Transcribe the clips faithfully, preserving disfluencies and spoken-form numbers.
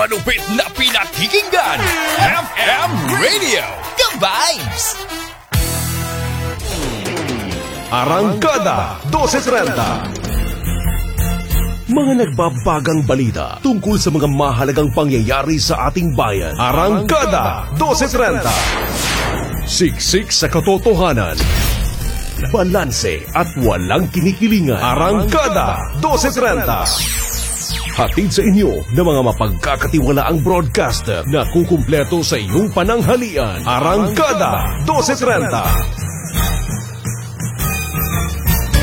Malupit na pinakikinggan, F M Radio, Ka-Vibes! Arangkada dose trenta. Mga nagbabagang balita tungkol sa mga mahalagang pangyayari sa ating bayan. Arangkada dose trenta. Siksik sa katotohanan. Balanse at walang kinikilingan. Arangkada dose trenta. Hatid sa inyo ng mga mapagkakatiwalaang broadcaster na kukumpleto sa iyong pananghalian. Arangkada dose trenta.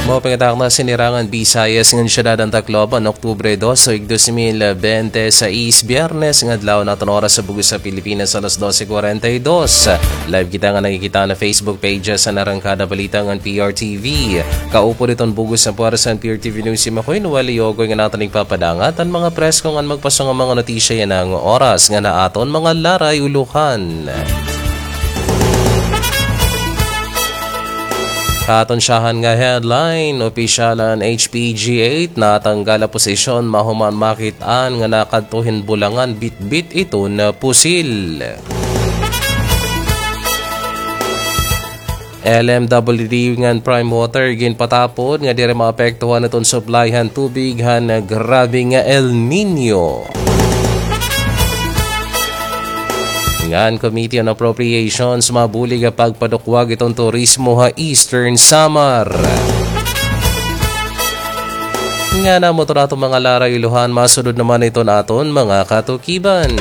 Maupay nga takna ha sinirangan Bisayas ngan siyudad han Tacloban, Oktubre dos, tuig dos mil bente seis, Biyernes nga adlaw, an aton oras ha bug-os ha Pilipinas, alas dose cuarenta y dos. Live kita nga nakikita ha Facebook pages han Arangkada Balita ngan P R T V. Kaupod hiton bug-os nga puwersa han P R T V News, si Makoy Noel Yogoy nga aton igpapadangat an mga presko ngan magpaso nga mga notisya yana nga oras ngan ha aton mga laray-ulohan. Aton syahan nga headline, opisyal han H P G eight natanggal ha posisyon mahuman makit-an nga nakadto hin bulangan bitbit iton pusil. L M W D ngan Prime Water ginpatapod nga diri maapektuhan iton supply han tubig han grabe nga El Niño. Ngan Committee on Appropriations mabulig ha pagpadukwag iton turismo ha Eastern Samar. Ngan amo iton aton mga laray-ulohan, masunod naman iton aton mga katukiban.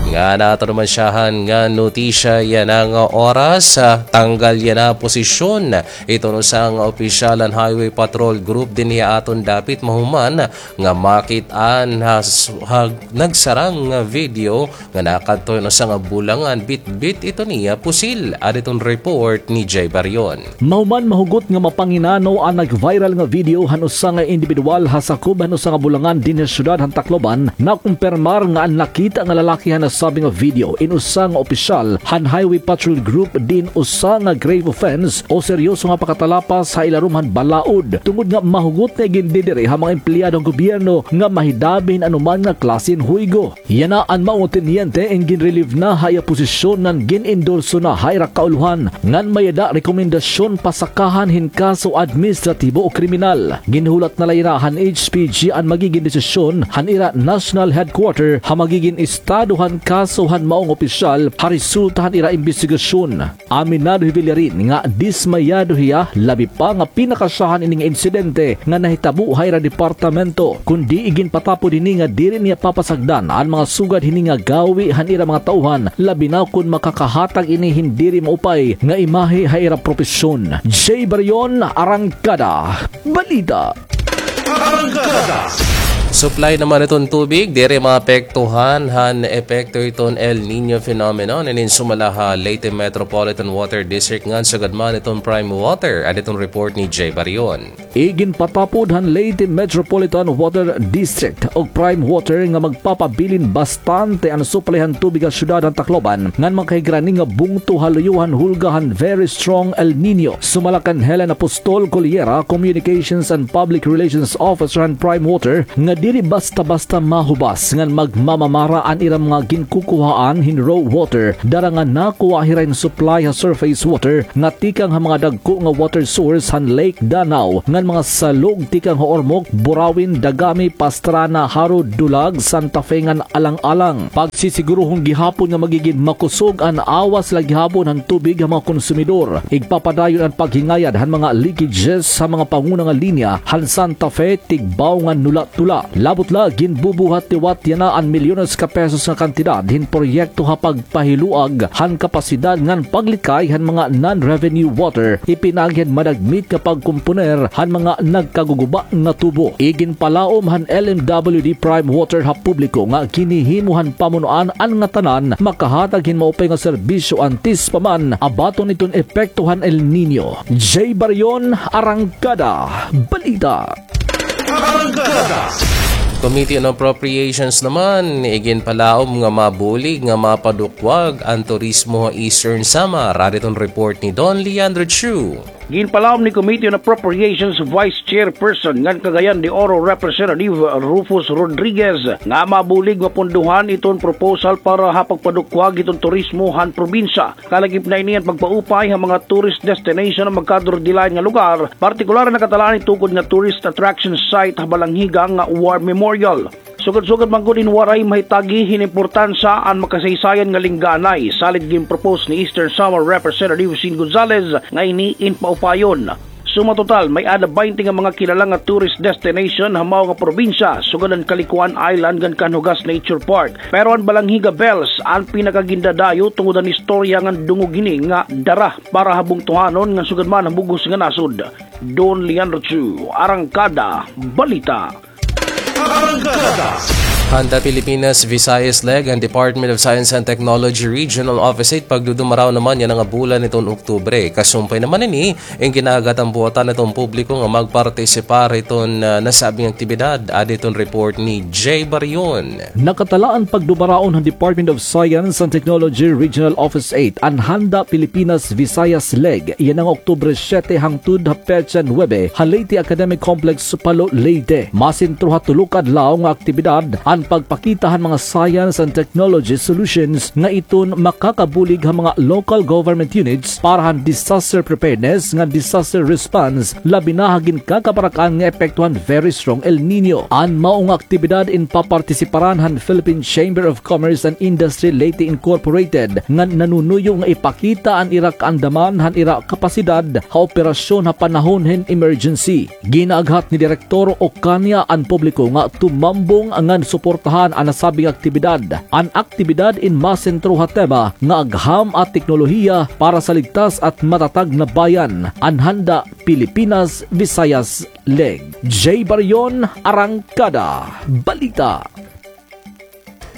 Ngan aton naman syahan nga notisya yana nga oras, ah, tanggal yana ha posisyon iton usa nga opisyal han Highway Patrol Group dinhi ha aton dapit mahuman nga makit-an ha, ha nagsarang nga video nga nakadto hin usa nga bulangan bitbit iton iya pusil. Adi iton report ni Jay Barion. Mahuman mahugot nga mapanginano an nag-viral nga video han usa nga indibidwal ha sakob han usa nga bulangan dinhi ha siyudad han Tacloban. Nakumpirmar nga an nakita nga lalaki han nasabi nga video in usa nga opisyal han Highway Patrol Group diin usa nga grave offense o seryoso nga pakatalapas ha ilarom han balaod, tungod nga mahugot nga igindidiri ha mga empleyado han gobyerno nga mahidabi hin anuman nga klase hin huygo. Yana an mao nga tenyente in gin-relieve na ha iya posisyon ngan gin-endorso na ha ira kaulohan ngan may-ada rekomendasyon pasakahan hin kaso administratibo o kriminal. Ginhulat na la yana han H P G an magigin desisyon han ira national headquarter ha magigin estado han kaso han mao nga opisyal ha resulta han ira imbestigasyon. Aminado hi Villarin nga dismayado hiya, labi pa nga pinakasyahan ini nga insidente nga nahitabo ha ira departamento, kundi iginpatapod hini nga diri niya papasagdan an mga sugad hini nga gawi han ira mga tauhan, labi na kon makakahatag ini hin diri maupay nga imahe ha ira propesyon. Jay Barion, Arangkada Balita. Arangkada. Supply naman iton tubig, diri maapektuhan han epekto iton El Niño phenomenon. Inin sumala ha Leyte Metropolitan Water District ngan sugad man iton Prime Water. Adi iton report ni Jay Barion. Iginpatapod han Leyte Metropolitan Water District ug Prime Water nga magpapabilin bastante an supply han tubig ha siyudad han Tacloban ngan makahigrani nga bungto ha luyo han hulga han very strong El Niño. Sumala kan Helen Apostol Coliera, Communications and Public Relations Officer han Prime Water, nga diri basta-basta mahubas ngan magmamamara an ira mga ginkukuhaan hin raw water, dara nga nakuha hira hin supply ha surface water nga tikang ha mga dagko nga water source han Lake Danao ngan mga salog tikang ha Ormoc, Burauen, Dagami, Pastrana, Jaro, Dulag, Santa Fe ngan alang-alang. Pagsisigurohon gihapon nga magigin makusog an awas la gihapon han tubig ha mga konsumidor. Igpapadayon an paghingayad han mga leakages ha mga panguna nga linya han Santa Fe, Tigbao ngan Nula-Tula. Labot la, ginbubuhat liwat yana an milyones ka pesos nga kantidad hin proyekto ha pagpahiluag han kapasidad ngan paglikay han mga non-revenue water, ipinaagi han madagmit nga pagkomponer han mga nagkaguguba nga tubo. Iginpalaom han L M W D Prime Water ha publiko nga ginhihimo han pamunuan an ngatanan makahatag hin maupay nga serbisyo antes pa man abaton iton epekto han El Niño. Jay Barion, Arangkada Balita. Arangkada. Committee on Appropriations naman, iginpalaom nga mabulig nga mapadukwag an turismo ha Eastern Samar. Adi iton report ni Don Leandro Chu. Ginpalawom ni Committee on Appropriations Vice Chairperson ngan Cagayan de Oro Representative Rufus Rodriguez nga mabulig mapunduhan iton proposal para ha pagpadukwag iton turismo han probinsya. Kalakip na ini an pagpaupay ha mga tourist destination nga magkadurdilain nga lugar, partikular na nakatalaan itukod nga tourist attraction site ha Balangiga nga War Memorial. Sugad-sugad man gud in Waray mahitagi hin importansya an makasaysayan nga lingganay, salit ginpropose ni Eastern Samar Representative Sin Gonzales nga ini in paupayon. Suma total, may-ada baynte nga mga kilala nga tourist destination ha mao nga probinsya, sugad an Kalikuan Island ngan Canhogas Nature Park. Pero an Balangiga Bells an pinakagindadayo tungod an istorya ngan dungog hini nga dara para ha bungtohanon ngan sugad man ha bug-os nga nasod. Don Leandro Chu, Arangkada, Balita. Arangkada. Handa Pilipinas Visayas Leg an Department of Science and Technology Regional Office eight pagdudumaraw naman yana nga bulan hiton Oktubre. Kasumpay naman ini, in gin-aaghat an buotan hiton publiko nga magpartisipar hiton, ah, nasabing aktibidad. Adi hiton report ni Jay Barion. Nakatala an pagdumaraon han Department of Science and Technology Regional Office eight, an Handa Pilipinas Visayas Leg, yana nga Oktubre siyete hangtod ha petsa nuwebe, ha Leyte Academic Complex, Palo, Leyte. Masentro ha tulo ka adlaw nga aktibidad an pagpakita han mga science and technology solutions nga iton makakabulig ha mga local government units para han disaster preparedness ngan disaster response, labi na ha ginkakabarak-an nga epekto han very strong El Niño. An mao nga aktibidad in papartisiparan han Philippine Chamber of Commerce and Industry Leyte Incorporated, nga nanunuyo nga ipakita an ira kaandaman han ira kapasidad ha operasyon ha panahon hin emergency. Ginaaghat ni Direktor Ocaña an publiko nga tumambong ngan suportahan an nasabing aktibidad. An aktibidad in masentro ha tema nga Agham at Teknolohiya para sa Ligtas at Matatag na Bayan, an Handa Pilipinas Visayas Leg. Jay Barion, Arangkada, Balita.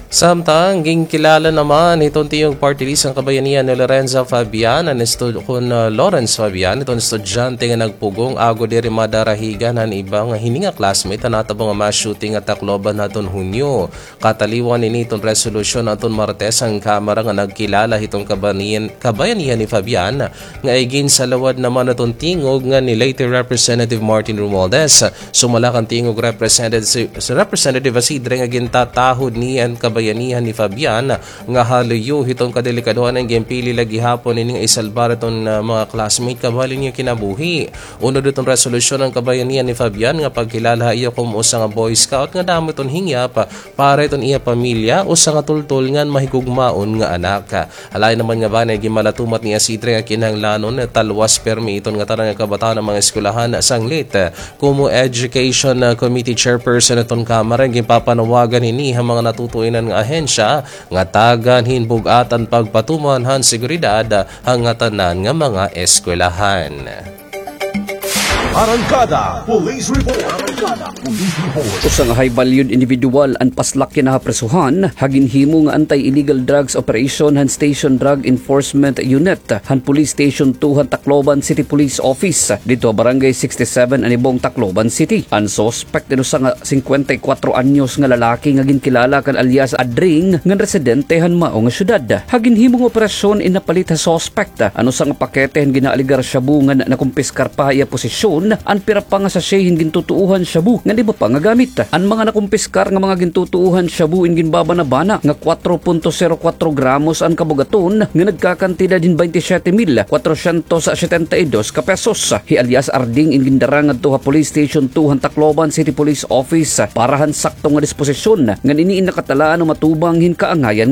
Samtang ginkilala naman hiton Tingog Party List an Kabayanihan ni Lorenza Fabian, an estu-, kun, ah, Lawrence Fabian, hiton estudyante nga nagpugong agod diri madarahigan han iba nga hini nga classmate han natabo nga mass shooting ha Tacloban hadton Hunyo. Kataliwan ini hiton resolusyon hadton Martes an Kamara nga nagkilala hiton kabaniyan-, kabayanihan ni Fabian, nga iginsalawad naman hiton tingog ngan ni Leyte Representative Martin Romualdez. Sumala kan tingog Representative, Representative Acidre nga gintatahod niya an kabayanihan ni Fabian nga haluyo hiton kadelikadohan an ginpili la gihapon ini nga isalbar hiton, ah, mga classmate kabahal-in niya kinabuhi. Unod hiton resolusyon an kabayanihan ni Fabian nga pagkilala ha iya komo usa nga Boy Scout nga damo hiton hingyap para hiton iya pamilya, usa nga tultol ngan mahigugmaon nga anak. Ha lain naman nga banay, ginmalatumat ni Acidre nga kinahanglanon nga talwas pirmi iton ngatanan nga kabataan han mga eskwelahan sanglit. Komo Education Committee Chairperson hiton Kamara, ginpapanawagan hini ha mga natutuinan nga ahensya nga tagan hin bug-at an pagpatuman han seguridad ha ngatanan nga mga eskwelahan. Arangkada Police Report. Arangkada Police Report. Usa nga high-valued individual an paslak yana ha prisohan ha ginhimo nga anti-illegal drugs operation han Station Drug Enforcement Unit han Police Station two han Tacloban City Police Office, didto ha Barangay sixty-seven Anibong, Tacloban City. An suspect in usa nga singkwenta y kwatro anyos nga lalaki nga ginkilala kan alias Adring ngan residente han mao nga syudad. Ha ginhimo nga operasyon in napalit ha suspect an usa nga pakete han ginaalegar shabu ngan nakumpiskar pa ha iya posisyon an pira pa nga sachet hin gintutuohan shabu ngan iba pa nga gamit. An mga nakumpiskar nga mga gintutuohan shabu in ginbabanabana nga kwatro punto zero kwatro gramos an kabugaton nga nagkakantidad hin baynte siyete mil kwatrosyentos setenta y dos ka pesos. Hi alias Arding in gindara ngadto ha Police Station two han Tacloban City Police Office para han sakto nga disposisyon ngan ini in nakatalaan nga matubang hin kaangayan